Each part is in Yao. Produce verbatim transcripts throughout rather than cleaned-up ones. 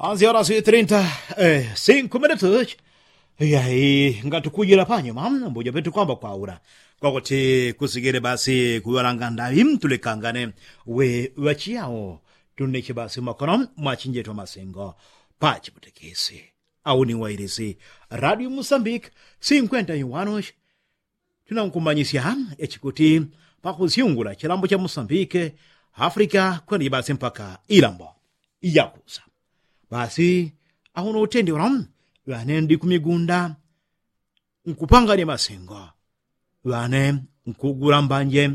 Ansi orasi trinta, sinkumenetuchi. Yai ngatukujila panyuma mbujo petukwamba kwaula kwakuti kusigile basi kuŵalanga ndaŵi tulekangane. We ŵachiyao tuneche basi mwakono mwachinjetu amasingo pachiputikisi. Au ni wailisi radio musambiki sinkwenta iwanushi. Tunankumanyisya echikuti pakusyungula chilambo cha musambiki, afrika kweneji basi mpaka ilambo iyakusa. Basi auno utendi ula ŵane ndi kumigunda nkupanganya masingo, ŵane nkugula mbanje,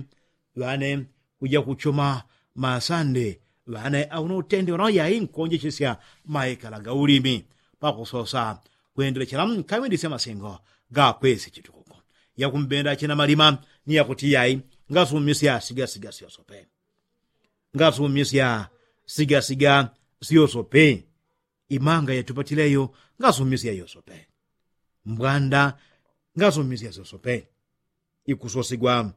ŵane kuja kuchuma masande, ŵane auno utendi ula yai nkonjechesya maikala gaulimi pakusosa kwendelechela nkawindisya masingo gakwesi chitukuku. Yakumbenda china malima ni yakuti yai ngasumisya sigasiga syosope. Ngasumisya sigasiga syosope. Imanga yatupatileyo ngasumisya yosope. Mbwanda ngasumisya syosope. Ikusosigwa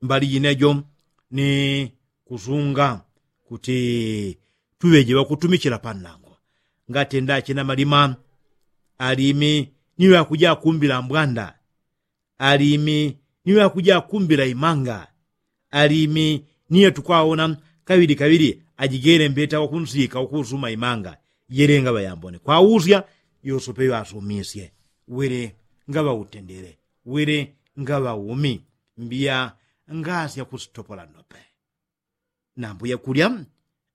mbali jinejo ni kusunga kuti tuŵeje ŵakutumichila pannango. Ngatenda china malima alimi ni ŵakuja kumbila mbwanda. Alimi ni ŵakuja kumbila imanga. Alimi ni ŵatukwaona kaŵili kaŵili ajigele mbeta wakunsika wakusuma imanga. Yele ngaŵayambone kwausya yosope ŵasumisye. Wele ngaŵautendele. Wele ngaŵaumi. Mbiya ngasya kusitopola ndope. Nambuya kulya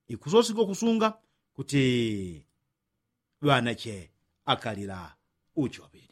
ikusosigwa kusunga kuti ŵanache akalila uchobili.